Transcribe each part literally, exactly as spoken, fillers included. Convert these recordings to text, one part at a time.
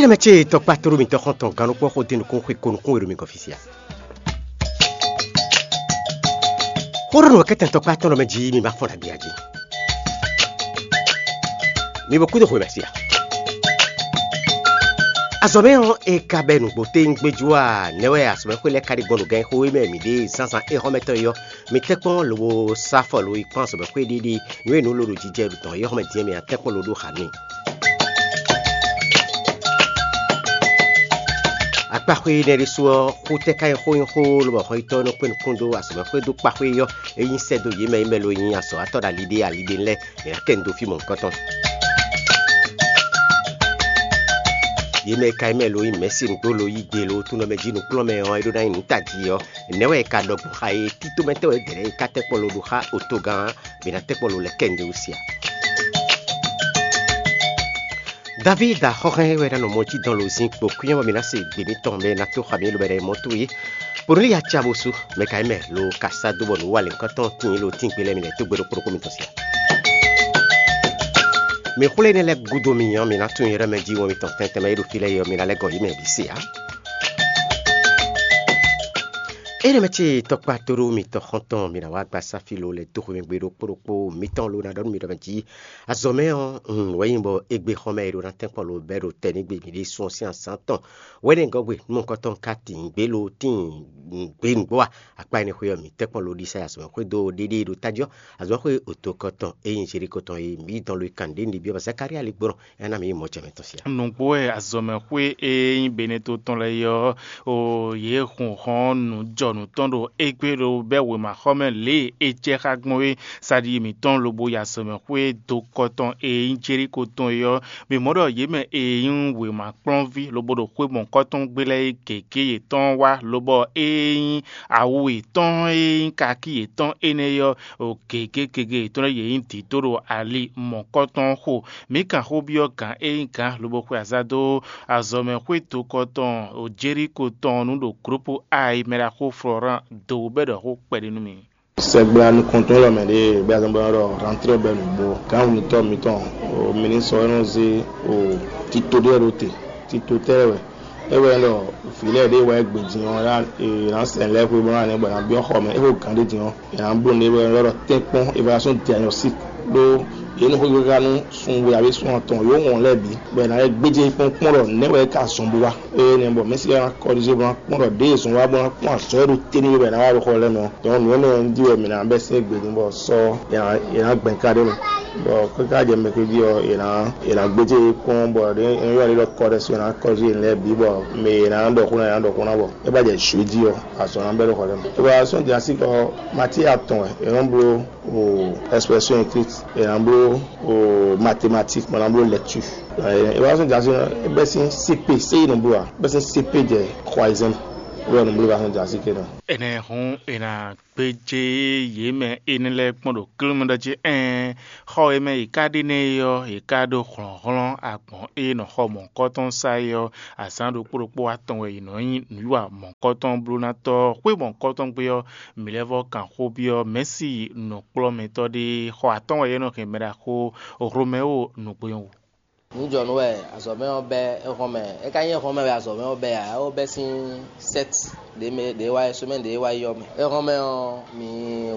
Énɛ́ mɛ ce tɔkpá tlóló mitɔn xɔ́ntɔn gannukpɔ́ xó dé nukún xwe ko nukún e ɖo mi gɔ́n fí sia. Xó ɖɔ nǔ wɛ kɛ́tɛn tɔkpá tɔn ɖɔ mɛ jí mi ma fɔ́n ɖagbe jí. Mi bo kúdó xwe mɛ sia. Azɔ̌ mɛ ɔ́, é ka bɛ́ nǔgbó téŋgbéjú a? Nɛ̌ wɛ azɔ̌mɛxwé lɛ́ɛ ka ɖi gbɔn ɖo gɛn xó e mɛ mǐ ɖe zánzán éhɔ́mɛtɔn é ɔ́? Mi tɛ́nkpɔ́n lobo sá afɔ lo yi kpɔ́n azɔ̌mɛxwé ɖiɖi nǔ e nǔ lolo jijɛ ɖo tɔn é xɔmɛ din ɔ́, mi ná tɛ́nkpɔ́n lo ɖó xa n'i. Akpáxwé énɛ́ ɖésú ɔ́, xó tɛ́ ká nyí xó nyí xó lobɔ xɔnyitɔ́ nɔ kpé nukún dó azɔ̌mɛxwé dó kpáxwé ɔ́, é nyí sɛ́ dó yě mɛ e mɛ lo nyí azɔ̌watɔ́ ɖo ali ɖé ali ɖé lɛ́ɛ, è nǎ kɛ nu dó fí mɔ̌hunkɔtɔn. Yě mɛ e ka nyí mɛ lo nyí mɛ̌si nǔgbó lo yí gbe lo túnɔ mɛ jí nǔkplɔ́nmɛ ɔ́, é ɖó ná nyí nǔ tají ɔ́, nɛ̌ wɛ è ka ɖɔ gbɔn xa e títomɛtɔ́ wɛ dɛ̌ lɛ́ɛ e ka tɛ́ kpɔ́ lo ɖo xá otogán ɔ́, bě ná tɛ́ kpɔ́ lo lɛ́ kɛ nǔɖé wú sia? Davída xɔ́hɛn wɛ ná nɔ mɔ jí dɔn lo zin kpo kwínyɔ́ bɔ mi ná se gbě mitɔn mɛ ná tó xa mi lobɛ ɖɛ mɔ towe. Bónú ya ca bó sú mɛ ka nyí mɛ lo ka sá dó bɔ nǔ wa lěhunkɔtɔn tíin lo tíngbe lɛ́ɛ mi lɛ́ dó gbe ɖokpó ɖokpó mitɔn sia. Mi xwlé énɛ́ lɛ́ɛ gúdo mi nyɔ́ mi ná tunwun yɔ́ mɛ jí wɔn mitɔn tɛntɛn mɛ e ɖo fí lɛ́ɛ é ɔ́, mi ná lɛ́ gɔn yě mɛ bǐ se ǎ. Énɛ́ mɛ ce tɔkpá tóɖó mitɔn xɔ́ntɔn mi ná wá gba sáfí lo lɛ́ dó xwé mɛ gbe ɖokpó ɖokpó mitɔn lo ná ɖɔ nú mi ɖɔ mɛ jí. Azɔ̌ mɛ ɔ́, un wɛ nyí bɔ égbé xɔ́mɛ e ɖo ná tɛ́nkpɔ́n lo bɛ́ ɖo tɛ́ ní gbe mǐ ɖésú ɔ́ sín azǎn tɔn. Wɛ̌nɛgɔ́gbe nú mɔ̌hunkɔtɔn ka tín gbě lo tíin gbě nǔgbó a? Akpá énɛ́ xwé ɔ́, mǐ tɛ́nkpɔ́n lo ɖisa yi azɔ̌mɛxwé dó ɖéɖéé ɖo tájí ɔ́, azɔ̌mɛxwé otokɔtɔn e nyí Zeliko tɔn e mǐ dɔn lo yi kan ɖě ní byɔ́ Zakalía ligbɔ́nɔ, é ná mǐ nyí mɔ̌ jɛ mɛ tɔn sia. Nǔgbó wɛ azɔ̌mɛxwé e nyí Beneto tɔn lɛ́ɛ é ɔ́, o yě hun hɔn nǔ jɔ nǔ tɔn ɖo égbé ɖo bɛ́ wěmaxɔmɛ lě e é jɛ xá gbɔn é. Saɖi mǐtɔn lobo yi azɔ̌mɛxwé dokɔ tɔn e nyí Jeliko tɔn é ɔ́, mǐ mɔ ɖɔ yě mɛ e nyí wěma kplɔ́nví lobo ɖo xwé mɔ̌hunkɔtɔn gbé lɛ́ɛ é gěgé yětɔn wá, lobɔ ée nyí awu yětɔn e nyí kakí yětɔn énɛ́ é ɔ́, o gěgé gěgé yětɔn lɛ́ɛ yě nyí dǐdó ɖo ali mɔ̌hunkɔtɔn xo. Mǐ kan xó byɔ́ gǎn e nyí gǎn lobo xwe azǎn dó azɔ̌mɛxwé dokɔ tɔn Jeliko tɔn nu ɖo glǔpu A e mɛ ɖaxó Florán do bɛ́ ɖɔ xó kpɛɖé nú mì. Sɛgbla nukɔntɔn lɔ mɛ ɖe bɛ azɔn bɔ ɖɔ rantrɔ bɛ nugbo kan wunitɔ mitɔn o minisɔ e nɔ ze o tito ɖe ɖo te. Tito tɛ wɛ e wɛ ɖɔ vǐ lɛ ɖe wɛ gbe din ɔ ya e na sɛn lɛ xwe bɔ na ne bɔ na biɔ xɔ mɛ e xo gan ɖe din ɔ e na blo ne wɛ ɖɔ tɛnkpɔn evaluation diagnostic ɖo ye nɔ xo yɔga nu sun we abe sun atɔn yo wɔn lɛ bi bɔ e na yɛ gbedze kpɔn kpɔn ɖɔ ne wɛ ka zɔn bo wa. Eye nɛ bɔ mɛsi ya na kɔrize bɔ na kpɔn ɖɔ ɖe zɔn wa bɔ na kpɔn azɔ e ɖo te ni bɔ e na wa ɖo xɔ lɛ mɛ ɔ. Donc nǔ énɛ́ ɔ́ di wɛ mǐ ná bɛ́ sín gbě din bɔ sɔ è nǎ gbɛn ka ɖé mɛ. Bɔ káká jɛ mɛ ké jí ɔ́, è nǎ è nǎ gbéjé yě kpɔ́n bɔ ɖě é nyɔ́ ɖé ɖɔ kɔɖɛ so è nǎ kɔjú yě lɛ́ɛ bǐ bɔ mɛ è nǎ ɖɔ xó ná è nǎ ɖɔ xó ná bɔ é bá jɛ jǔ jí ɔ́, azɔ̌ ná bɛ́ ɖo xɔ lɛ́ɛ mɛ. Évaluation diagnostique ɔ́, matière atɔn wɛ è nɔ bló o expression écrite, è nǎ bló o mathématique, bɔ è nǎ bló lecture. Évaluation diagnostique ɔ́, é bɛ́ sín C P, C I nɔ bló ǎ, é bɛ́ sín C P jɛ troisième. Wɛ nɔ bló évaluation diagnostique ɔ́. Ɛnɛ hǔn è nǎ gbéjé yě mɛ énɛ́ lɛ́ɛ kpɔ́n ɖo klúmɛ ɖɔ jí ɛ́n, xɔ e mɛ yě ká ɖe nɛ́ é ɔ́, yě ká ɖó hlɔ̌nhlɔ́n agbɔ̌n e nɔ xɔ mɔ̌hunkɔtɔn sa é ɔ́, azǎn ɖokpó ɖokpó atɔn wɛ yě nɔ nyí nǔwiwa mɔ̌hunkɔtɔn blónátɔ́. Xwé mɔ̌hunkɔtɔn gbe ɔ́, mǐ lɛ́ vɔ́ kan xó byɔ́ Mɛ̌si nǔkplɔ́mɛtɔ́ ɖé, xɔ atɔ́ɔ́n wɛ é nɔ hɛn mɛ ɖaxó Hlomɛwo nǔgbó nyɔ́ wú. Nǔjɔnǔ wɛ azɔ̌mɛ ɔ́ bɛ́ éhɔ́nmɛ. É ka nyí éhɔ́nmɛ wɛ azɔ̌mɛ ɔ́ bɛ́ ǎ, é wó bɛ́ sín sɛ́t ɖě mɛ ɖě wá yi, semaine ɖě wá yi ɔ́ mɛ. Éhɔ́nmɛ ɔ́, mǐ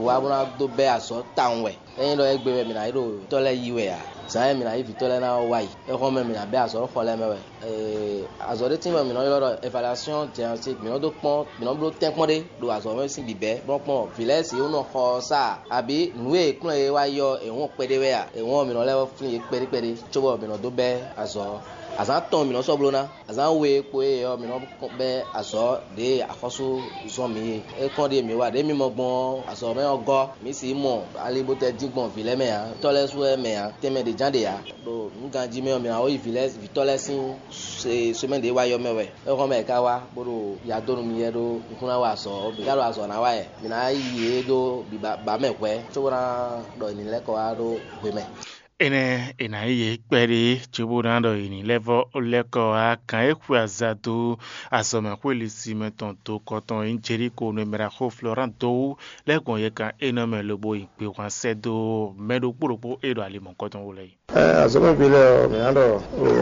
wá bó ná dó bɛ́ azɔ̌ tawun wɛ. Ényí ɖɔ égbé wɛ mǐ ná yi ɖo vǐtɔ́ lɛ́ɛ yí wɛ ǎ, zǎn e mǐ ná yí vǐtɔ́ lɛ́ɛ ná ɔ́ wá yi. Éhɔ́nmɛ mǐ ná bɛ́ azɔ̌ ɖo xɔ lɛ́ɛ mɛ wɛ. Ee, azɔ̌ ɖé tíin wɛ mǐ nɔ ylɔ́ ɖɔ évaluation diagnostique. Mǐ nɔ dó kpɔ́n, mǐ nɔ bló tɛ́nkpɔ́n ɖé ɖo azɔ̌ mɛ sín bǐbɛ́, bó nɔ́ kplɔ́n vǐ lɛ́ɛ si wó nɔ xɔ ɔ́ sá a, abǐ nǔ e è kplɔ́n yě wá yi ɔ́, è wɔn kpɛɖé wɛ a? È wɔn mǐ nɔ lɛ́ flín yě kpɛɖé kpɛɖé, cóbɔ mǐ nɔ dó bɛ́ azɔ̌ ɔ́. Azǎn atɔn mǐ nɔ sɔ́ bló ná. Azǎn we kpo e ɔ́, mǐ nɔ bɛ́ azɔ̌ ɖě e axɔ́sú zɔ́n mǐ é. É kɔn ɖíe mǐ wa ɖě mǐ mɔ gbɔn ɔ́, azɔ̌ mɛ ɔ́ gɔ́. Mǐ sixú mɔ ali bó tɛ dín gbɔn vǐ lɛ́ɛ mɛ ǎ, tɔ́ lɛ́ɛ su wɛ mɛ ǎ, tɛnmɛ ɖě ján ɖe ǎ. Ɖo nǔ ganjí mɛ ɔ́, mǐ ná wá yi vǐ lɛ́ɛ vǐtɔ́ lɛ́ɛ sín se- semɛ́ ɖě wá yɔ mɛ wɛ. Éhɔ́n mɛ è ka wá bó ɖo ya dó nú mì yɛ ɖó nukún ná wa azɔ̌ ɔ́, mǐ ka ɖo azɔ̌ ná wa yɛ. Mǐ ná yi yě ɖó biba ba mɛ hwɛ̌, cóbó ná ɖɔ è ní lɛ́ kɔ wá ɖó hwemɛ. Énɛ́ è nǎ yí yě kpɛɖé cóbó ná ɖɔ è ní lɛ́ vɔ́ lɛ́ kɔ wá gǎn e xwe aza dó azɔ̌mɛxwé lisí mɛ tɔn dó kɔ tɔn e nyí Jeliko nú e mɛ ɖaxó Florán dó wú lɛ́ gbɔn yɛkan énɛ́ mɛ lobo yi gbehwan sɛ́ dó mɛ ɖokpó ɖokpó e ɖo ali mɔ̌hunkɔtɔn wú lɛ́ɛ yi. Azɔ̌mɛví lɛ́ɛ ɔ́, mǐ ná ɖɔ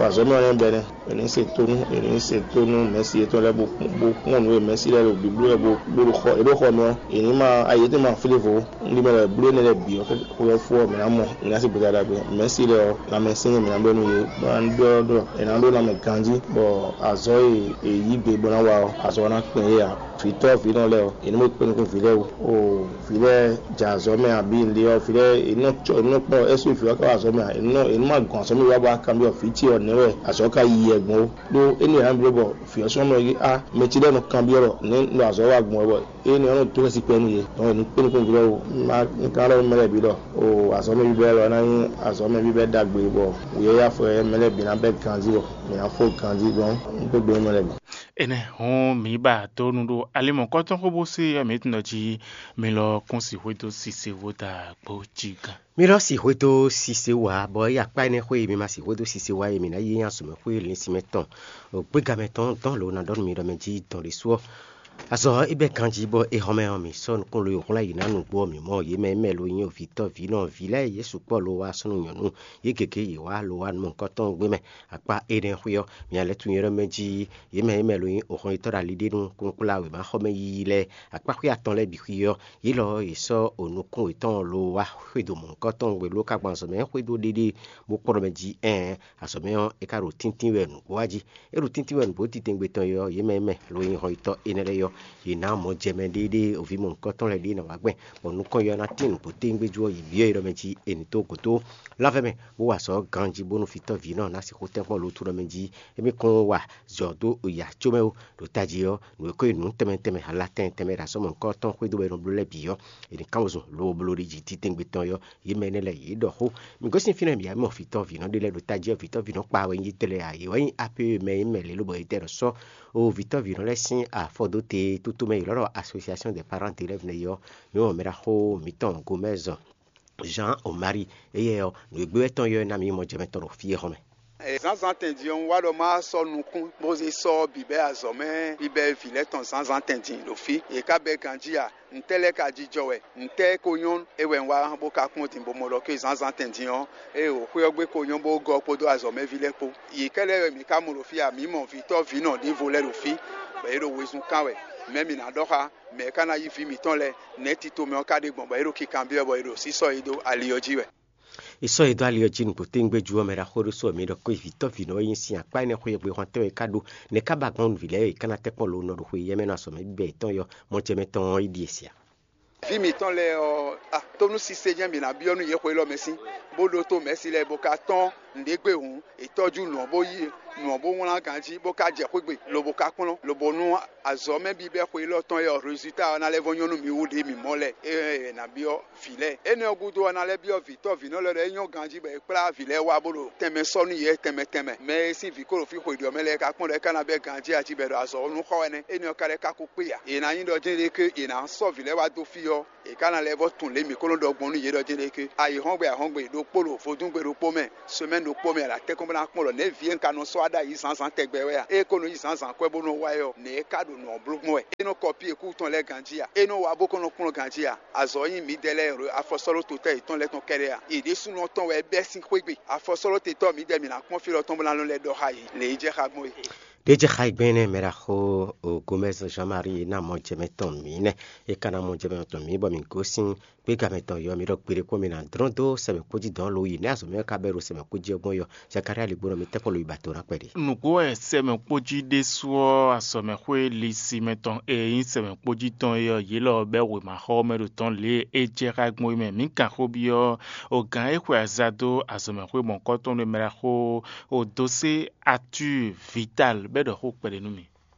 azɔ̌mɛ ɔ́ nɛ́ bɛ́ nɛ́. È nǐ se tónú, è nǐ se tónú mɛ̌si yětɔn lɛ́ɛ bó kpɔ́n nǔ e mɛ̌si lɛ́ɛ ɖo bǐbló wɛ bó ɖo xɔ, è ɖo xɔ mɛ ɔ́, è nǐ ma ayi étɛ́ ma flévo. Un ɖi mɛ lɛ́ɛ bló énɛ́ lɛ́ɛ bǐ ɔ́, xwe ɔ́ fó ɔ́, mǐ ná mɔ, mǐ ná se gbeta ɖagbe. Mɛ̌si lɛ́ɛ ɔ́, lanmɛsɛn e mǐ ná ɖɔ nú yě, bó ná ɖɔ ɖɔ è nǎ ɖó lanmɛ ganjí, bɔ azɔ̌ e è yǐ gbe bó ná wa ɔ́, azɔ̌ ɔ́ ná kpɛn yě ǎ. Vǐtɔ́ vǐnɔ lɛ́ɛ ɔ́, è nǐ mɔ kpɛ́n nukún vǐ lɛ́ɛ wú. Oo, vǐ lɛ́ɛ jɛ azɔ̌ mɛ abǐ nǔɖé ɔ́, vǐ lɛ́ɛ è nɔ cɔ, è nɔ kplɔ́n ɛ́ sú vǐ ɔ́ ká wá azɔ̌ mɛ ǎ. È nɔ è nɔ ma gɔn azɔ̌ mɛ wá bɔ a kanbyɔ́ vǐ ce ɔ́ nɛ̌ wɛ azɔ̌ ka yi wɛ gbɔn ó. Ɖó énɛ́ ǎ bló bɔ vǐ ɔ́ sɔ́ nɔ ɔ́, á mɛ ce lɛ́ɛ nɔ kanbyɔ́ ɖɔ nɛ̌ nɔ azɔ̌ wa gbɔn wɛ, bɔ énɛ́ ɔ́ nɔ dó xɛsi kpɛ́ nú yě. Dɔn è nǐ kpé nukún vǐ lɛ́ɛ wú. Má un ka ɖɔ mɛ lɛ́ɛ bǐ ɖɔ, oo, azɔ̌ mɛ bíbɛ́ lɔ ná nyí azɔ̌ mɛ bíbɛ́ ɖagbe, bɔ wǔyɛ́yá fɔ mɛ lɛ́ɛ bǐ ná bɛ́ ganjí, bɔ mǐ ná fó ganjí. Dɔn un kpé gbe mɛ lɛ́ɛ bǐ. Énɛ́ hɔn mǐ ba dó nu ɖó alimɔ̌kɔ́tɔn xó bó sé ɔ́, mǐ tunɔ jí mi lɔ kún si xwedó sise wó da gbó jí gán. Mi lɔ si xwedó sise wá, bɔ é akpá énɛ́ xwé e mi ma si xwedó sise wá e mi ná yí azɔ̌mɛxwé linsinmɛ tɔn gbégamɛ tɔn dɔn lo ná ɖɔ nú mi ɖɔ mɛ jí dɔn ɖésú ɔ́. Azɔ é bɛ́ ganjí bɔ é hɔn mɛ ɔ́, mi sɔ́ nukún lo e hwlɛ́n yě ná nǔgbó ɔ́, mǐ mɔ yě mɛ mɛ lo nyí ovǐtɔ́ vǐ nɔ vǐ lɛ́ɛ yě sukpɔ́ lo wá súnnu nyɔ̌nu, yě gěgé yě wá lo wá nukɔntɔn gbé mɛ. Akpá énɛ́ xwé ɔ́, mi ná lɛ́ tunwun yɔ́ mɛ jí yě mɛ e mɛ lo nyí ohɔn yětɔn ɖo ali ɖé nú kúnkplá wěmaxɔmɛ yiyi lɛ́ɛ. Akpá xwé atɔn lɛ́ɛ bǐ xwí ɔ́, yě lɔ ɔ́, yě sɔ́ onukún yětɔn lo wá xwedó mɔ̌hunkɔtɔn gbe ló ka gbɔn azɔ̌ mɛ xwedó ɖéɖé bó kplɔ́n mɛ jí ɛɛn, azɔ̌ mɛ ɔ́, é ka ɖo tíntín wɛ nǔgbó wá jí. É ɖo tíntín wɛ nǔgbó titɛngbé tɔn é ɔ́, yě mɛ e mɛ lo nyí hɔnyitɔ́ énɛ́ lɛ́ɛ ɔ́, yě ná mɔ jɛ mɛ ɖéɖé oví mɔ̌hunkɔtɔn lɛ́ɛ ɖé ná wá gbɛn, bɔ nukɔn yɔ ná tín nǔgbó téwúngbéjú ɔ́, yě byɔ́ é ɖɔ mɛ jí è nǐ dó gǒ dó lávɛ mɛ, bó wa azɔ̌ ganjí bónú vǐtɔ́ vǐ nɔ ná sixú tɛ́nkpɔ́n lo tú ɖɔ mɛ jí émí kún wa zɔ dó ya có mɛ ó. Ɖo tají ɔ́, nǔ e ko nyí nǔ tɛnmɛ tɛnmɛ, ala tɛnmɛ tɛnmɛ ɖo azɔ̌ mɔ̌hunkɔtɔn xwedó wɛ è nɔ bló lɛ́ɛ bǐ ɔ́, è nǐ kán wezun lobo bló ɖi jí titɛngbé tɔn ɔ́, yě mɛ énɛ́ lɛ́ɛ yě ɖɔ xó. Mǐ gosín fínɛ́ mǐ yá mɔ vǐtɔ́ vǐnɔ ɖé lɛ́ɛ ɖo tají ɔ́, vǐtɔ́ vǐnɔ kpa wɛ nyí tɛ́ lɛ́ɛ ǎ. Yě wɛ nyí A P E mɛ e mɛ lě lobɔ è tɛ ɖɔ sɔ́ o vǐtɔ́ vǐnɔ lɛ́ɛ sín afɔdóte tútú mɛ yě lɔ́ ɖɔ Association des Parents d'Élèves nɛ́ ɔ́, mǐ mɔ mɛɖaxó mǐtɔn Gomɛ́zɔ Jean Omari, éyɛ́ ɔ́, nǔ e gbé wɛ tɔn ɔ́ ná mǐ mɔ jɛ mɛ tɔn ɖo fí e hɔn mɛ. Zǎnzǎn tɛn din ɔ́, un wá ɖɔ má sɔ́ nukún bó zé sɔ́ bǐbɛ́ azɔ̌ mɛ bíbɛ́ vǐ lɛ́ɛ tɔn zǎnzǎn tɛn din ɖo fí. Yě ká bɛ́ ganjí a? Ntɛ́ lɛ́ɛ ka jijɔ wɛ? Ntɛ́ ko nyɔ́ é wɛ un wá bó ka kpɔ́n din bó mɔ ɖɔ ké zǎnzǎn tɛn din ɔ́, ée wǒ xwé ɔ́ gbe ko nyɔ́ bó gɔ́ kpódó azɔ̌mɛví lɛ́ɛ kpó. Yě kɛ́ lɛ́ɛ wɛ mǐ ka mɔ ɖo fí a? Mǐ mɔ vǐtɔ́ vǐnɔ ɖěvo lɛ́ɛ ɖo fí, bɔ yě ɖo wezun kán wɛ. Mɛ̌ mǐ ná ɖɔ xá? Mɛ̌ ka ná yí vǐ mǐtɔn lɛ́ɛ? Nɛ̌ tito mɛ ɔ́ ka ɖe gbɔn bɔ yě ɖo kikanbyɔ́ bɔ yě ɖo sísɔ́ yí dó ali ɔ́ jí wɛ? È sɔ́ yě dó ali ɔ́ jí nǔgbó téwúngbéjú ɔ́, mɛ ɖaxó ɖé sɔ́ mǐ ɖɔ kó vǐtɔ́ vǐnɔ e nyí sin akpá énɛ́ xwé e gbé hɔn tɛ́nwe ka ɖó, nɛ̌ ká ba gbɔn nǔví lɛ́ɛ e ká ná tɛ́ kpɔ́n lo nɔ ɖo xwe yɛ́mɛ nɔ azɔ̌ mɛ bíbɛ́ yětɔn yɔ mɔ jɛ mɛ tɔn ɔ́ yi ɖíe sia? Vǐ mǐtɔn lɛ́ɛ ɔ́, a, tónú sise jɛ́n mǐ ná byɔ́ nú yě xwe élɔ́ mɛ sín, bó ɖótó mɛ̌si lɛ́ɛ bó ka tɔ́n nǔɖé gbe hǔn, è tɔ́jú nǔ ɔ́ bó yí nǔ ɔ́ bó wlán ganjí, bó ka jɛ xwé gbe, lobo ka kplɔ́n, lobo nú azɔ̌ mɛ bíbɛ́ xwe élɔ́ tɔn e ɔ́, résultat ɔ́ ná lɛ́ vɔ́ nyɔ́ nú mǐ wú ɖě mǐ mɔ lɛ́ɛ. É ná byɔ́ vǐ lɛ́ɛ. Énɛ́ ɔ́ gúdo ɔ́, ná lɛ́ byɔ́ vǐtɔ́ vǐnɔ lɛ́ɛ ɖɔ é nyɔ́ ganjí bɔ è kplá vǐ lɛ́ɛ wá bó ɖo tɛnmɛ sɔ́ nú yě tɛnmɛ tɛnmɛ. Mɛ e sín vǐ ko ɖo fí xwe ɖě ɔ́ mɛ lɛ́ɛ ka kpɔ́n ɖɔ é ka ná bɛ́ ganjí a jí bɔ è ɖo azɔ̌ ɔ́ nú xɔ wɛ nɛ́. Énɛ́ ɔ́ ka lɛ́ ka ko kpé ǎ. È nǎ nyí ɖɔ jɛ́n ɖé ké è nǎ sɔ́ vǐ lɛ́ɛ wá dó fí ɔ́, è ka ná lɛ́ vɔ́ tunwun lě mǐ ko nɔ ɖɔ gbɔn nú yě ɖɔ jɛ́n ɖé ké. Ayǐhɔ́ngbe ahɔ́ngbe ɖokpó ɖo vodúngbe ɖokpó mɛ, semɛ́ni ɖokpó mɛ, a ɖo atɛ́nkpɔ́n bó ná kpɔ́n ɖɔ nɛ̌ vǐ e un ka nɔ sɔ́ wá ɖ'ayǐ zǎnzǎn tɛgbɛ wɛ a? É ko nɔ yí zǎnzǎn kwɛ́ bó nɔ wá é ɔ́, nɛ̌ é ka ɖo nǔ ɔ́ bló gbɔn wɛ? É nɔ kɔ pí e kú tɔn lɛ́ɛ ganjí a? É nɔ wá bó kɔn nɔ kplɔ́n ganjí a? Azɔ̌ ɔ́ nyí mǐdɛɛ lɛ́ɛ ɖo afɔsɔ́ɖótotɔ́ yětɔn lɛ́ɛ tɔn kɛ́ɖɛ́ a? Yě ɖésúnɔ tɔn wɛ é bɛ́ sín xwé gbe. Afɔsɔ́ɖótetɔ́ mǐdɛɛ mǐ ná kpɔ́n fí lɔ tɔn bó ná nɔ lɛ́ ɖɔ xá yě, lě e jɛ xá gbɔn é. Ɖě jɛ xá yi gbɛn énɛ́ mɛ ɖaxó Gomɛ́s Jean-Marie ná mɔ jɛ mɛ tɔn mǐ nɛ́. É ka ná mɔ jɛ mɛ tɔn mǐ bɔ mǐ gosín gbéga mɛ tɔn yɔ mǐ ɖɔ gbeɖé kpɔ́n mǐ ná dlɔ́n dó sɛmɛ kpó jí dɔ̌n lo yi nɛ́ azɔ̌ mɛ ka bɛ́ ɖo sɛmɛ kpó jí ɔ́ gbɔn yɔ. Zakaria ligbónɔ mi tɛ́ kɔ lo yi ba do ná kpɛɖé. Nǔgbó wɛ sɛmɛ kpó jí ɖésú ɔ́, azɔ̌ mɛ xwé lisi mɛ tɔn e nyí sɛmɛ kpó jí tɔn é ɔ́, yě lɔ bɛ́ wěmaxɔ mɛ ɖo tɔn lě e é jɛ xá gbɔn é mɛ. Mǐ kan xó byɔ́ o gǎn e xwe aza dó azɔ̌ mɛ xwé mɔ̌kɔ́tɔn ɖé mɛ ɖaxó o dó sé Arthur Vital bɛ́ ɖɔ xó kpɛɖé nú mì.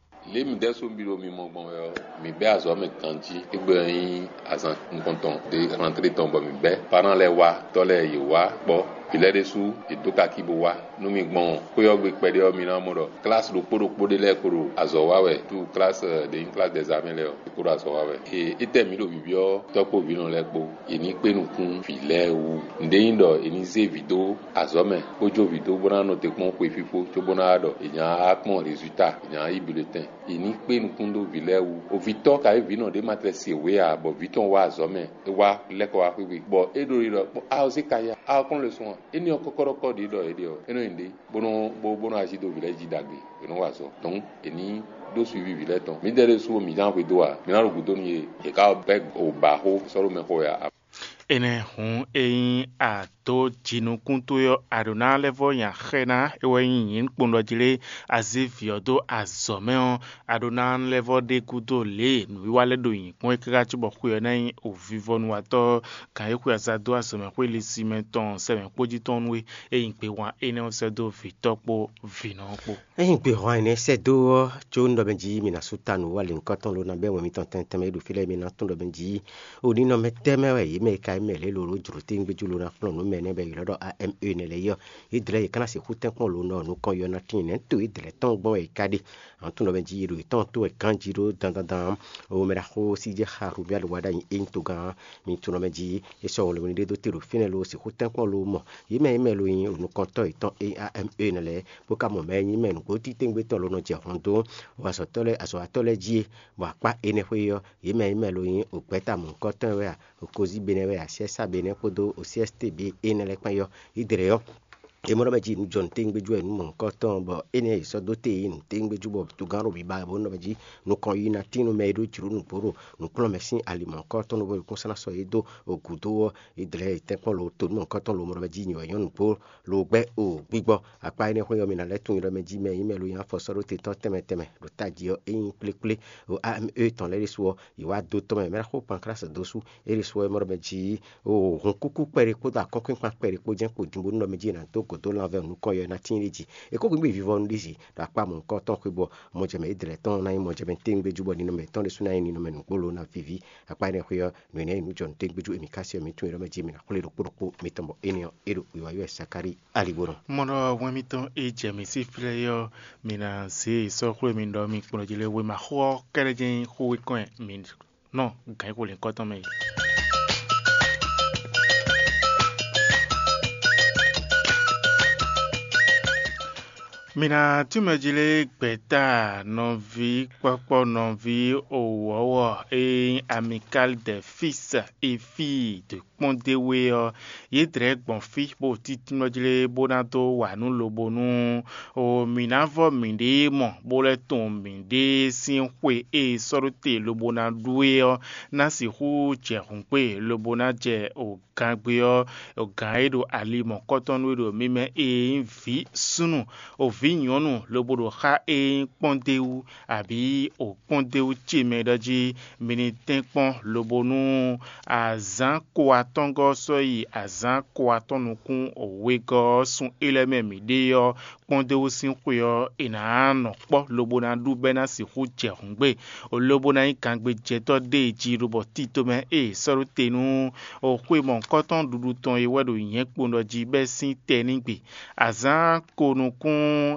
Lě mi ɖɛ́ só mi ɖo mi mɔ gbɔn wɛ ɔ́, mi bɛ́ azɔ̌ mɛ ganjí. Égbé ɔ́ nyí azǎn nukɔntɔn ɖé xlántlé tɔn bɔ mi bɛ́. Parán lɛ́ɛ wá, tɔ́ lɛ́ɛ yě wá kpɔ́. Vǐ lɛ́ɛ ɖésú yě dó kakí bó wá. Nú mi gbɔn xwé ɔ́ gbe kpɛɖé ɔ́, mi ná mɔ ɖɔ klasi ɖokpó ɖokpó ɖé lɛ́ɛ ko ɖo azɔ̌ wa wɛ. Tú klasi ɖě nyí klasi dɛzamɛ lɛ́ɛ ɔ́, é ko ɖo azɔ̌ wa wɛ. Ee, étɛ́ mǐ ɖo bibyɔ́ tɔ́ kpó vǐnɔ lɛ́ɛ kpó, è ní kpé nukún vǐ lɛ́ɛ wú. Nǔɖé nyí ɖɔ è ní zé vǐ dó azɔ̌ mɛ, bó jó vǐ dó bó ná nɔ te kpɔ́n xwe fífó, cóbó ná ɖɔ è nǎ kpɔ́n rezulta, è nǎ yí bulletin. È ní kpé nukún dó vǐ lɛ́ɛ wú. Ovǐtɔ́ ka nyí vǐnɔ ɖé ma tlɛ se wě ǎ, bɔ vǐ tɔn wá azɔ̌ mɛ, é wá lɛ́ kɔ wá xwé gbe, bɔ é ɖo yi ɖɔ kpɔ́n, a ɔ zé ka ya, a ɔ kplɔ́n le sun a? Énɛ́ ɔ́ kɔ́kɔ́ɖɔkɔ́ ɖě ɖɔ è ɖe ɔ́, é nɔ nyi ɖě, bó nɔ bó bó nɔ ají dó vǐ lɛ́ɛ jí ɖagbe, è nɔ wa azɔ̌ dɔn è ní ɖó suivi vǐ lɛ́ɛ tɔn. Mǐdɛɛ ɖésú ɔ́, mǐ zán xwedó ǎ, mǐ ná ɖo gǔdo nú yě, yě ká bɛ́ o ba xó sɔ́ ɖó mɛ xo wɛ ǎ. Énɛ́ hǔn, ényí a dǒ jinukún towe ɔ́, a ɖǒ ná lɛ́ vɔ́ nya xɛ ná é wɛ nyí nyǐkpɔ́n ɖɔ jí lé, a zé vǐ ɔ́ dó azɔ̌ mɛ ɔ́, a ɖó ná lɛ́ vɔ́ ɖe gúdo lě e nǔwiwa lɛ́ɛ ɖo nyǐkɔ́n é káká cóbɔ xwe ɔ́ ná nyí ovivɔnuwatɔ́. Gǎn e xwe aza dó azɔ̌mɛxwé lisimɛ tɔn sɛmɛ kpó jí tɔn nú we, é nyí gbehwan énɛ́ ɔ́ sɛ́ dó vǐtɔ́ kpó vǐnɔ ɔ́ kpó. Ényí gbehwan énɛ́ sɛ́ dó ɔ́, có nú ɖɔ mɛ jí mi ná sú ta nǔ wá lě nukɔn tɔn lo ná bɛ́ wɛn mitɔn tɛnmɛ tɛnmɛ e ɖo fí lɛ́ɛ mi ná tunwun ɖɔ mɛ jí o ninɔmɛ tɛ́ mɛ wɛ yě mɛ e ka nyí mɛ lě lo ɖó jlǒ téwúngbéjú lo ná kplɔ́n nǔ mɛ nɛ́ bɔ è ylɔ́ ɖɔ A M E nɛ́ lɛ́ɛ é ɔ́, yě dlɛ̌ yě ká ná sixú tɛ́nkpɔ́n lo nɔ nukɔn yɔ ná tíin nɛ̌ to yě dlɛ̌ tɔn gbɔn wɛ è ka ɖe. Àwọn tó nɔ mɛ jí ɖo yětɔn tó wɛ ganjí ɖó dandandan. O mɛ ɖaxó sí jɛ xa Rubia ɖo wa ɖ'ayǐ é nyí togán. Mi tó nɔ mɛ jí é sɔ́ wolo ní ɖé dó te ɖo fínɛ́ lo sixú tɛ́nkpɔ́n lo mɔ yě mɛ e mɛ lo nyí nukɔntɔ́ yětɔn A M E nɛ lɛ́ɛ, bó ka mɔ mɛ e nyí mɛ nǔgbó títɛ́ngbétɔ́ lo nɔ jɛ hɔn dó azɔ̌tɔ́ lɛ́ɛ azɔ̌watɔ́ lɛ́ɛ jí é. Bɔ akpá énɛ́ xwé ɔ́, yě mɛ e mɛ lo nyí gbɛ̌ta mɔ̌hunkɔtɔn wɛ a, Kozíbe nɛ́ wɛ a, Siɛ́sábe nɛ́ kpódó Osiɛ́sitée énɛ́ lɛ́ɛ kpán é ɔ́, yě dlɛ̌ ɔ́, é mɔ ɖɔ mɛ jí nǔjɔnǔ téwúngbéjú wɛ nǔ mɔ̌hunkɔtɔn, bɔ énɛ́ è sɔ́ dó te yě nǔ téwúngbéjú bɔ togán ɖo biba bó nɔ mɛ jí nukɔn yí ná tín nú mɛ e ɖó jlǒ nǔgbó ɖo nǔkplɔ́nmɛ sín ali mɔ̌hunkɔtɔn bó kún sɔ́ ná sɔ́ yě dó gǔdo ɔ́, yě dlɛ̌ yě tɛ́nkpɔ́n lo to nú mɔ̌hunkɔtɔn lo mɔ ɖɔ mɛ jí nyǐ wɛ nyɔ́ nǔgbó lo gbɛ́ o gbígbɔ. Akpá énɛ́ xwé ɔ́, mi ná lɛ́ tunwun ɖɔ mɛ jí mɛ e nyí mɛ lo nyí afɔ sɔ́ ɖó te tɔn tɛnmɛ tɛnmɛ ɖo tají ɔ́, é nyí kplékplé o A M E tɔn lɛ́ɛ ɖésú ɔ́, yě wá dó tɔn mɛ mɛ ná xo panklási dó sú é ɖésú ɔ́, é mɔ ɖɔ mɛ jí o hun kúkú kpɛɖé kpódó akɔ́nkpínkpan kpɛɖé kpó jɛ́n kpo din bónú nɔ mɛ jí è nǎ dó gǒ dó lanvɛ nukɔn yɔ ná tíin ɖé jí. È kó gbígbí vivɔnu ɖi zi ɖo akpá mɔ̌hunkɔtɔn xwé bɔ mɔjɛmɛ Idlɛ́ɛ tɔn ná nyí mɔjɛmɛ téwúngbéjú bɔ ninɔmɛ tɔn ɖésú ná nyí ninɔmɛ nǔgbó lo ná víví. Akpá énɛ́ xwé ɔ́, nǔ énɛ́ e nǔjɔnǔ téwúngbéjú e mǐ ká se ɔ́, mǐ tunwun é ɖɔ mɛ jí mǐ ná xwlé ɖokpó ɖokpó mitɔn bɔ énɛ́ ɔ́, é ɖo wiwa wɛ Sakáli aligbonɔ. Mɔ ɖɔ hwɛn mitɔn e jɛ mǐ sí flɛ́ é ɔ́, mi ná zě sɔ́ xwlé mi ɖɔ mi kplɔ́n jí lé wěma xó ɔ́ kɛ́ɖɛ́ jɛ́n nyí xó e kɔn mi nɔ gǎn xo lěhunkɔtɔn mɛ é. Mi ná tún mɛ jí lé gbɛ̌ta nɔví kpɔ́kpɔ́ nɔví owɔ̌wɔ e nyí Amicale des Fils et Filles de kpɔ́ndéwé ɔ́, yě dlɛ̌ gbɔn fí bó títímlɔ́ jí lé bó ná dó wa nǔ lobo nú o mǐ ná vɔ́ mǐɖée mɔ bó lɛ́ tunwun mǐɖée sín xwe e è sɔ́ ɖó te lobo ná ɖú é ɔ́, ná sixú jɛ hǔn gbe lobo ná jɛ o gangbe ɔ́, o gǎn e ɖo ali mɔ̌kɔtɔn nú we ɖo mi mɛ e nyí vǐ súnnu, o vǐ nyɔ̌nu lobo ɖo xá e nyí kpɔ́ndéwú, abǐ o kpɔ́ndéwú ce mɛ ɖɔ jí mi ní tɛ́nkpɔ́n lobo nú azǎn ko atɔ́ngɔ́ sɔ́ yi azǎn ko atɔ́ nukún wegɔ́ ɔ́ sun é lɛ́ɛ mɛ mǐ ɖe ɔ́, kpɔ́ndéwú sín xwe ɔ́, è nǎ nɔ kpɔ́ lobo ná ɖu bɔ é ná sixú jɛ hǔngbe, lobo ná nyí gangbejɛtɔ́ ɖée jí lobɔ tito mɛ e è sɔ́ ɖó te nú xwe mɔ̌hunkɔtɔn ɖuɖu tɔn é wɛ ɖo nyɛ̌ kpowun ɖɔ jí bɔ é sín tɛ ní gbe. Azǎn ko nukún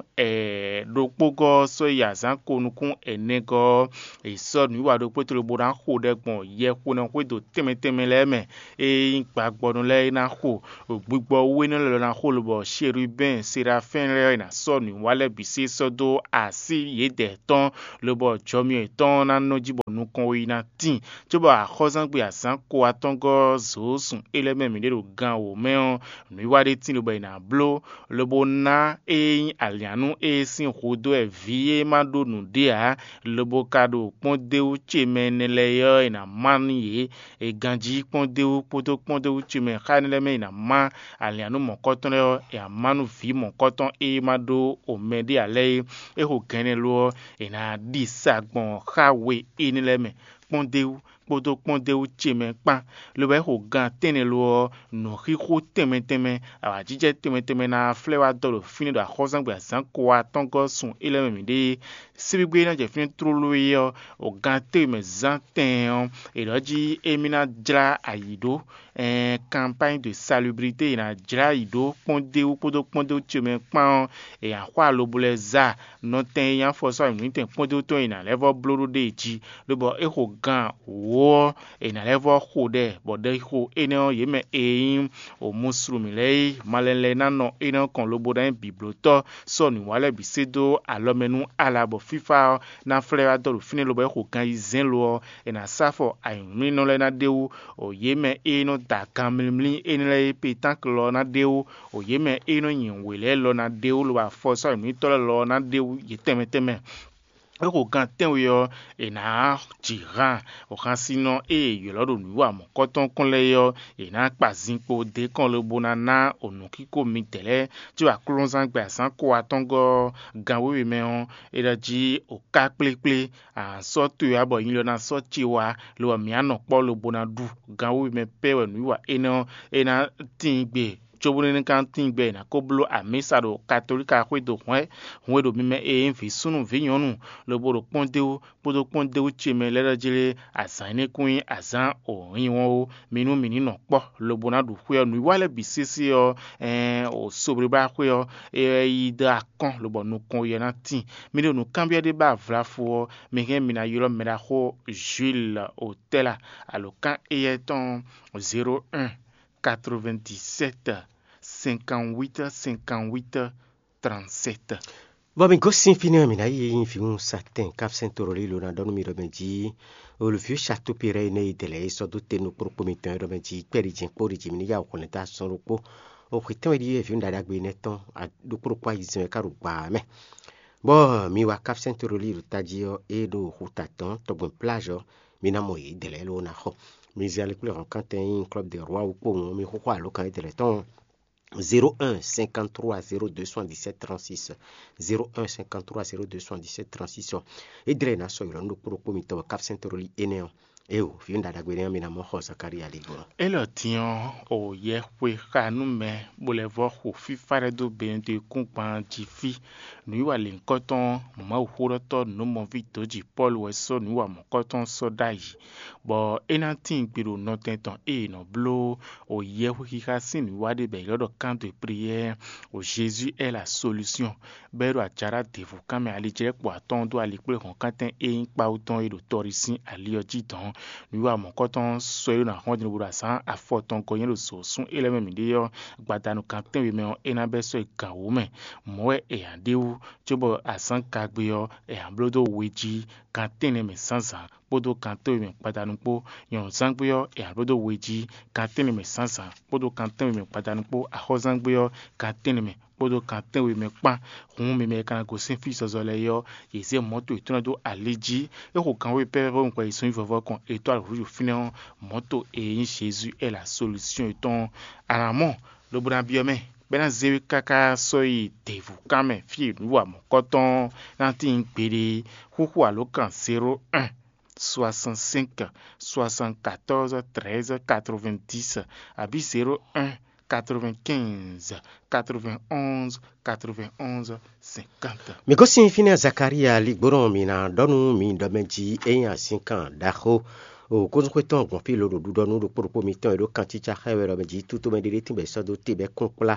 ɖokpógɔ́ ɔ́ sɔ́ yi azǎn ko nukún ɛnɛgɔ́ ɔ́, è sɔ́ nǔwiwa ɖokpó tolo bó ná xo ɖɛ gbɔn yɛxonɔ xwédo tɛnmɛ tɛnmɛ lɛ́ɛ mɛ. Ényí gbagbɔnɔ lɛ́ɛ ná xo gbigbɔ wú énɛ́ lɛ́ɛ lɔ ná xo lobɔ Sherubɛ́n Serafɛ́n lɛ́ɛ ná sɔ́ nǔwiwa lɛ́ɛ bǐ sé sɔ́ dó así yědɛɛ tɔn, lobɔ jɔmyɔ yětɔn ná nɔ jí bɔ nukɔn we yi ná tíin, cóbɔ axɔ́zangbe azǎn ko atɔ́ngɔ́ zǒ sun é lɛ́ɛ mɛ mǐ ɖe ɖo gan wǒ mɛ ɔ́, nǔwiwa ɖé tíin lobɔ è nǎ bló, lobo ná é nyí alǐannú e sín hudó wɛ vǐ e ma ɖó nǔɖé ǎ, lobo ka ɖo kpɔ́ndéwú ce mɛ énɛ́ lɛ́ɛ ɔ́, è nǎ má nú yě. È ganjí kpɔ́ndéwú kpódó kpɔ́ndéwú ce mɛ xá énɛ́ lɛ́ɛ mɛ è nǎ má alǐannú mɔ̌kɔtɔn lɛ́ɛ ɔ́, è nǎ má nú vǐ mɔ̌kɔtɔn e ma ɖó omɛ ɖé ǎ lɛ́ɛ é. É xo gɛ̌nɛ lo ɔ́, è nǎ ɖi sa gbɔn xá we énɛ́ lɛ́ɛ mɛ, kpɔ́ndéwú kpódó kpɔ́ndéwú ce mɛ kpán. Lobo é xo gan tɛ́nnɛ lo ɔ́, nǔxixo tɛnmɛ tɛnmɛ, awǎjijɛ tɛnmɛ tɛnmɛ ná flɛ́ wá dɔ ɖo fínɛ́ ɖo axɔ́zangbe azǎn ko atɔ́ngɔ́ sun é lɛ́ɛ mɛ mǐ ɖe é. Síbígbé ná jɛ fínɛ́ tlóló é ɔ́, o gan téwe mɛ zán tɛɛn ɔ́, è ɖɔ jí émí ná jlá ayǐ ɖó, ɛɛ campagne de salubrité è nǎ jlá ayǐ ɖó kpɔ́ndéwú kpódó kpɔ́ndéwú ce mɛ kpán ɔ́, è nǎ xɔ alobo lɛ́ɛ zá nɔtɛn e nyí afɔsɔ́ anyǔnútɛn kpɔ́ndéwú tɔn e è nǎ lɛ́ vɔ́ bló ɖó ɖée jí, lobɔ é xo gan wǒ ɔ́, è nǎ lɛ́ vɔ́ xo ɖɛ, bɔ ɖɛxixo énɛ́ ɔ́, yě mɛ e nyí òmuslumǐ lɛ́ɛ é, malɛn lɛ́ɛ ná nɔ énɛ́ ɔ́ kɔn lobo ná nyí bǐblótɔ́ sɔ́ nǔwa lɛ́ɛ bǐ sé dó alɔ mɛ nú ala, bɔ fífá ɔ́ ná flɛ́ wá dɔ ɖo fínɛ́, lobo é xo gan ayizɛ́n lo ɔ́, è nǎ sá afɔ anyǔmlínɔ lɛ́ɛ ná ɖ'é wú. Yě mɛ e nɔ da ganmlímlí énɛ́ lɛ́ɛ é, petánkl ɔ́ ná ɖ'é wú. Yě mɛ e nɔ nyi wě lɛ́ɛ lɔ ná ɖ'é wú, lobo afɔsɔ́ anyǔmlítɔ́ lɛ́ɛ lɔ ɔ́ ná ɖ'é wú yě tɛnmɛ tɛnmɛ. É xo gan tɛ́nwe ɔ́, è nǎ ji han xansinnɔ e è ylɔ́ ɖo nǔwiwa mɔ̌kɔtɔn kɔn lɛ́ɛ é ɔ́, è nǎ kpa zinkpo d'é kɔn lobo ná ná nǔkíko midɛɛ lɛ́ɛ, có aklúnɔzán gbɛ azǎn ko atɔ́ngɔ́ ɔ́, gan wěwe mɛ ɔ́, è ɖɔ jí o ká kplékplé, a sɔ́ towe wá bɔ nyilɔ ná sɔ́ ce wá, lo ɔ́, mǐ á nɔ kpɔ́ lobo ná ɖu. Gan wěwe mɛ pɛ́ wɛ nǔwiwa énɛ́ ɔ́, é ná tíin gbe. Cóbónú é ní ka tíin gbɛ, è nǎ ko bló amǐsa ɖo katolíka xwédo hwɛ̌, hun e ɖo mi mɛ e nyí vǐ súnnu vǐ nyɔ̌nu, lobo ɖo kpɔ́n d'é wú, kpódó kpɔ́n d'é wú ce mɛ lɛ́ɛ ɖɔ jlé azǎn énɛ́ kún nyí azǎn wǒnyinwɔ́n ó. Mi nú mǐ ní nɔ kpɔ́, lobo ná ɖu xwé ɔ́. Nǔwiwa lɛ́ɛ bǐ sésé ɔ́, ɛɛn, o soblíblá xwé ɔ́, é wɛ yí dó akɔ́n, lobɔ nukɔn yɛ ná tíin. Mi ɖo nǔkanbyɔ́ ɖé ba vlafu ɔ́, mi hɛn mi ná ylɔ́ mɛɖaxó Jules Otɛ́la, alǒkan éyɛ́ tɔn zéro un quatre-vingt-dix-sept cinquante-huit cinquante-huit trente-sept. Bɔ mi gosín fínɛ́, mǐ ná yi e nyí vǐwun satɛn Kapsɛn Torolílo ná ɖɔ nú mi ɖɔ mɛ jí olùví satúpi rɛ énɛ́ e dɛ̌ lɛ́ɛ é sɔ́ dó te nukplɔ́kpó mitɔn é ɖɔ mɛ jí kpɛ́ɖi jǐ kpó ɖi jǐ mi ní yá wǔ xɔ nɛ́ dó asɔ́n ɖokpó. O xwetɛ́nwe ɖíe vǐwun ɖaɖagbe énɛ́ tɔn ɖokpó ɖokpó ayizɛ́n wɛ ká ɖo gba ɔ́ mɛ. Bɔ mi wá Kapsɛn Torolílo tají ɔ́, é ɖo xuta tɔn tɔgbɛn pláž ɔ́, mi ná mɔ yě dɛ̌ lɛ́ɛ ló ná xɔ. Mi zɛ ali kplé hɔn kántɛn e nyí Club de Roi wú kpowun ɔ́, mi xóxó alǒkan édɛ́ lɛ́ɛ tɔn zéro un cinquante-trois zéro deux soixante-dix-sept trente-six, zéro un cinquante-trois zéro deux soixante-dix-sept trente-six ɔ́, é dlɛ́ ná sɔ́ ylɔ̌ nú ɖokpó ɖokpó mitɔn wɛ Kapsɛn Torolí énɛ́ ɔ́. Éeǒ, vǐ ɖaɖagbe énɛ́ ɔ́, mi ná mɔ xɔ Zakalía lí gbɔn. Élɔ́ din ɔ́, o yɛ xwe xa nú mɛ, bó lɛ́ vɔ́ xo fífá lɛ́ɛ dó Benedikúngban jí fí. Nǔwiwa lěhunkɔtɔn Mawuxóɖɔtɔ́ nǔmɔví dǒjǐ Pɔ́lu wɛ sɔ́ nǔwiwa mɔ̌kɔtɔn sɔ́ ɖ'ayǐ, bɔ é ná tíin gbe ɖo nɔtɛn tɔn e è nɔ bló o yɛhwe xixa sín nǔwiwa ɖé bɔ è ylɔ́ ɖɔ kando e priyɛ́ɛ o Jésus est la solution, bɔ é ɖo ajaɖá devu kanmɛ alijlɛ́kpo atɔ́ɔ́n dó alikpléhɔ̌nkántɛn e nyí kpawú tɔn e ɖo tɔɖi sín ali ɔ́ jí dɔ̌n. Nǔwiwa mɔ̌kɔtɔn sɔ́ é ɖo ná hɔn din lobo ɖo azǎn afɔtɔn gɔ́ nyɛ ɖo zǒsún é lɛ́ɛ mɛ mǐ ɖe ɔ́, gbadanu kan tɛ́nwe mɛ ɔ́, é ná bɛ́ sɔ́ yi gan wǒ mɛ. Mɔ̌ wɛ è nǎ ɖe wú, cóbɔ azǎn gagbe ɔ́, è nǎ bló dó we jí gan tɛ́nnɛ mɛ zǎnzǎn kpódó gan tɛ́nwe mɛ gbadanu kpó. Nyɔ̌nuzángbe ɔ́, è nǎ bló dó we jí gan tɛ́nnɛ mɛ zǎnzǎn kpódó gan tɛ́nwe mɛ gbadanu kpó. Axɔ́zángbe ɔ́, gan tɛ́nnɛ mɛ kpódó gan tɛ́nwe mɛ kpán. Hǔn mi mɛ e ka ná gosín fí zɔzɔ lɛ́ɛ é ɔ́, yě zé mɔ̌to yětɔn lɛ́ɛ dó ali jí. É xo gan wěwe pɛ́pɛ́ bónú hwɛ yi sunví vɔvɔ kɔn è dó alɔ̌ fínɛ́ ɔ́, mɔ̌to e nyí Jezu é la solúsyɔn yětɔn ɔ́, a nǎ mɔ, lobo ná byɔ́ mɛ, bɔ é ná zé we káká sɔ́ yi děvú kan mɛ fí e nǔ wa mɔ̌kɔtɔn ɔ́ ná tíin gbeɖé. Xúxú alǒkan zéro un soixante-cinq soixante-quatorze treize quatre-vingt-dix, abǐ zéro un quatre-vingt-quinze quatre-vingt-onze quatre-vingt-onze cinquante. Mi gosín fínɛ́ Zakalía ligbónɔ mi ná ɖɔ nú mi ɖɔ mɛ jí é nyí azínkan ɖaxó. O kónúxwé tɔn gbɔn fí lǒ ɖo ɖuɖɔ nú ɖokpó ɖokpó mitɔn e ɖó kancícá xá wɛ ɖɔ mɛ jí tútomɛ ɖé ɖé tínbɛ́ sɔ́ dó te bɛ́ kún kplá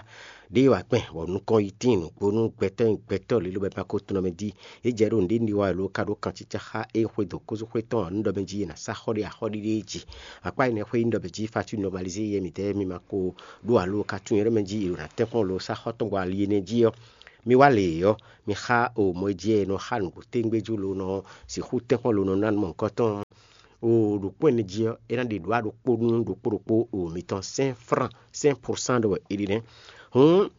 ɖé wá kpɛn, bɔ nukɔn yi tíin nǔgbó nú gbɛtɔ́ e gbɛtɔ́ lě lobɛ ma ko tunɔ mɛ jí. É jɛ ɖo nǔɖé ní wa wɛ lo ka ɖó kancícá xá é xwedó kózúxwé tɔn ɔ́, nú ɖɔ mɛ jí è nǎ sá xɔ ɖé axɔ́ɖiɖe jí. Akpá énɛ́ xwé nyí ɖɔ mɛ jí Fatu nɔmalizé yɛ mǐtɛɛ mi ma ko ɖó alo ka tunwun nyɛ ɖɔ mɛ jí è ɖo ná tɛ́nkpɔ́n lo sá xɔ tɔn gbɔ ali énɛ́ jí ɔ́, mi wá lě ɔ́, mi xá o mɔ e jí e nɔ xá nǔgbó tégbéjú lo nɔ sixú tɛ́nkpɔ́n lo nɔ ná nú mɔ̌hunkɔtɔn. O ɖokpó ɛnɛ jí ɔ́, é ná ɖe ɖǒ aɖokpó nú ɖokpó ɖokpó o mitɔn sɛ́n frán sɛ́n prosán ɖɔ wɛ è ɖi nɛ́. Hǔn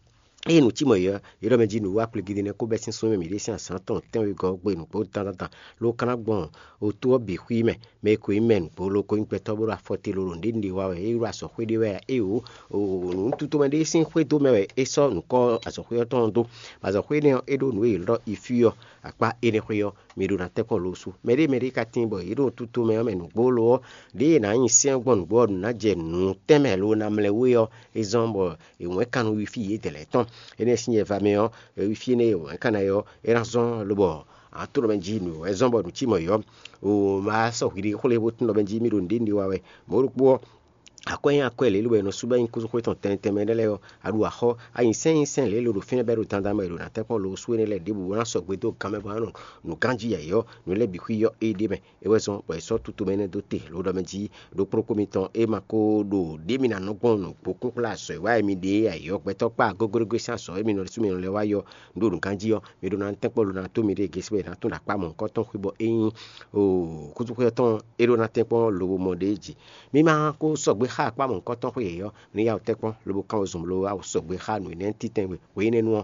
eye nǔ cí mɔ̌ é ɔ́, é ɖɔ mɛ jí nǔwiwa kplégídé nɛ́ kó bɛ́ sín súnnu e mǐ ɖe sín azǎn tɔn tɛ́nwegɔ́ ɔ́ gbe nǔgbó dandan lo ka ná gbɔn otú ɔ́ bǐ xwí mɛ. Mɛ e ko nyí mɛ nǔgbó lo ko nyí gbɛtɔ́ bó ɖo afɔ te lo ɖo nǔɖé ɖe wa wɛ, é ɖo azɔ̌xwé ɖé wɛ a? Éeǒ, nǔtútomɛ ɖé sín xwédo mɛ wɛ é sɔ́ nǔkɔ azɔ̌xwé ɔ́ tɔn ɔ́ dó. Azɔ̌xwé énɛ́ ɔ́, é ɖó nǔ e è ylɔ́ ɖɔ ifí ɔ́, akpá énɛ́ xwé ɔ́, mi ɖo ná tɛ́nkpɔ́n lo sú. Mɛɖé mɛɖé ka tíin bɔ yě ɖo tuto mɛ ɔ́ mɛ nǔgbó lo ɔ́, ɖěe è nǎ nyi sɛ́n gbɔn nǔgbó ɔ́, nǔ ná jɛ nǔ tɛnmɛ lo ná mlɛ́ wé ɔ́, é zɔ́n bɔ è wɛ̌n kan nú wífí yědɛɛ lɛ́ɛ tɔn. Énɛ́ sín nyɛ va mɛ ɔ́, wífí énɛ́ e è wɛ̌n kan ná é ɔ́, é ná zɔ́n lobɔ ǎ tló mɛ jí nǔ wɛ zɔ́n bɔ nǔ cí mɔ̌ é ɔ́, o ma sɔ́ hwiɖée xwlé bó tló mɛ jí mì ɖo nǔɖé nǔɖé wa wɛ. Mɔ̌ ɖokpó ɔ́, Akwɛ́ nyí akwɛ́ lě lobɔ è nɔ sú bɔ é nyí kúzúxwé tɔn tɛnmɛ tɛnmɛ ɖé lɛ́ɛ ɔ́, a ɖu axɔ́, a nyi sɛ́n nyi sɛ́n lě lo ɖo fínɛ́ bɔ é ɖo dandan mɛ è ɖo ná tɛ́nkpɔ́n lo sú énɛ́ lɛ́ɛ ɖěbǔ bó ná sɔgbe dó gan mɛ bɔ é nɔ nǔ ganjí yɛ̌yɔ́, nǔ lɛ́ɛ bǐ xwíyɔ́ éɖée mɛ. É wɛ zɔ́n bɔ è sɔ́ tutu mɛ énɛ́ dó te lo ɖɔ mɛ jí ɖo kplɔ́kpó mitɔn é ma ko ɖo ɖě mi ná nɔ gbɔn nǔgbó kúnkplá azɔ̌ e wa wɛ mi ɖe é ǎ é ɔ́, gbɛtɔ́ kpá gogóɖógó sín azɔ̌ e mi nɔ ɖésú mi nɔ lɛ́ wá yɔ ɖo nǔ ganjí ɔ́, mi ɖó ná tɛ́nkpɔ́n lo ná tó mi ɖée gésí bɔ è nǎ tún ɖo akpá mɔ̌hunkɔtɔn xwé bɔ é nyí kúzúxwé ɔ́ tɔn é ɖó ná tɛ́nkpɔ́n lobo mɔ ɖ'é jí. Mi ma ko sɔgbe xá akpá mɔ̌hunkɔtɔn xwé yěyɔ́, ní yá wǔ tɛ́nkpɔ́n lobo kán wezun lo wá sɔgbe xá nǔ énɛ́ títɛn we hweyí énɛ́ nu ɔ́,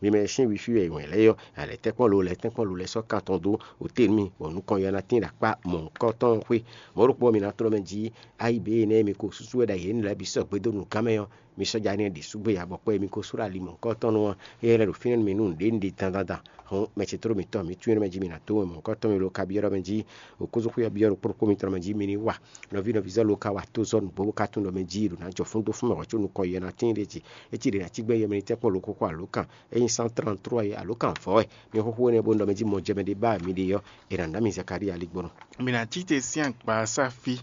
mi mɛ e sín wifi wɛ è wɛn lɛ́ɛ ɔ́, a lɛ̌ tɛ́nkpɔ́n lo lɛ́ tɛ́nkpɔ́n lo lɛ́ sɔ́ kan tɔn dó otɛ́nu mì, bɔ nukɔn yɔ ná tín ɖo akpá mɔ̌hunkɔtɔn xwé. Mɔ̌ ɖokpó ɔ́, mi ná tlɔ́ mɛ jí ayi bě énɛ́ e mi ko súsú wɛ ɖo ayǐ énɛ́ lɛ́ɛ bǐ sɔgbe dó nǔgán mɛ ɔ́, mi sɔ́ ja ní ɖi súgbé ǎ, bɔ kpɔ́ e mi ko sú ɖo ali mɔ̌hunkɔtɔn nu ɔ́, é lɛ́ ɖo fínɛ́ nú mi nú nǔɖé nǔɖé dandan dan. Hɔn mɛ ce tló mitɔn, mi tún énɛ́ mɛ jí mi ná dó wɛn mɔ̌hunkɔtɔn mi lo ka byɔ́ ɖɔ mɛ jí, o kúzú xwé ɔ́ byɔ́ ɖo kplɔ́kpó mitɔn mɛ jí mi ní wa. Nɔví nɔví zɔ́ lo ka wa tó zɔ́ nǔgbó bó ka tunwun ɖɔ mɛ jí ɖo ná jɔ fún dó fún mɛ hwɛ̌ có nukɔn yɛ ná tíin ɖé jí. É cí ɖě ná cí gbɛ́ yɛ mɛ ní tɛ́nkpɔ́n lo kókó alǒkan. Ényí cent trente-trois é alǒkan vɔ̌ wɛ, mi xóxó énɛ́ bó ɖɔ mɛ jí mɔjɛmɛ ɖé ba mì ɖe ɔ́, è nǎ ná mi Zakalíi aligbɔnɔ. Mi ná cí te sín agba ɔ́ sá fí,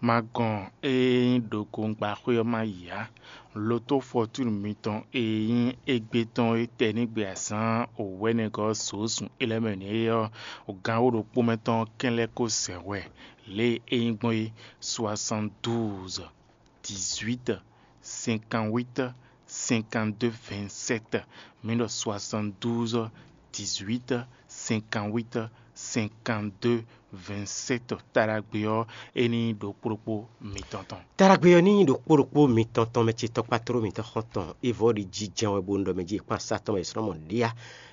ma gɔn ée nyí ɖokungbaxwé ɔ́ ma yi ǎ. Lotó fɔtúnu mitɔn e nyí égbé tɔn e tɛ ní gbe azǎn wɛ̌nɛgɔ́ zǒzun é lɛ́ɛ mɛ nɛ́ é ɔ́, gǎn wǒ ɖokpó mɛ tɔn kɛn lɛ́ ko zɛ hwɛ lě e é nyí gbɔn é: soixante-douze, dix-huit, cinquante-huit, cinquante-deux, vingt-sept. Mi ɖɔ soixante-douze, dix-huit, cinquante-huit, cinquante-deux, vingt-sept. Taɖagbe ɔ́, é ní ɖo kplɔ́kpó mitɔn tɔn. Taɖagbe ɔ́ ní ɖo kplɔ́kpó mitɔn tɔn mɛ ce tɔkpá tló mitɔn xɔ́ntɔn é vɔ ɖi jijɛ wɛ bó ɖɔ mɛ jí kpán sá tɔn mɛ sɔ́ mɔ ɖíá.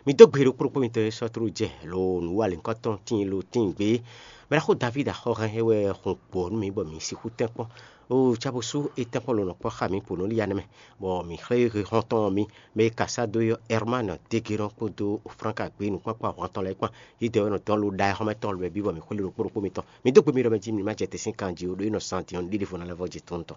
Mi dó gbe ɖo kplɔ́kpó mitɔn e sɔ́ tló jɛ lo nǔwalǐnkɔ́tɔn tíin lo tíin gbé. Mɛ ɖaxó Davídi axɔ́ hɛn é wɛ hun gbɔ̌ nú mi bɔ mi sixú tɛ́nkpɔ́n. Oo, cábosú é tɛ́nkpɔ́n lo nɔ kpɔ́ xá mi po nú Lianɛ mɛ, bɔ mǐ xlɛ́ hehɔn tɔn ɔ́ mì, mɛ e ka sá dó ɔ́, Ɛrmánɔ Degénɔ kpódó Franka gbé nǔkpákpá hwan tɔn lɛ́ɛ kpán. Yědɛɛ wɛ nɔ dɔn lo ɖa ɛ xɔ́mɛ tɔn lɛ́ɛ bǐ bɔ mǐ xwlé ɖokpó ɖokpó mitɔn. Mi dó gbe mi ɖɔ mɛ jí mi má jɛ te sín kan jí ó, ɖó é nɔ zan din ɔ́, ɖiɖe vo ná lɛ́ vɔ jɛ tɔn tɔn.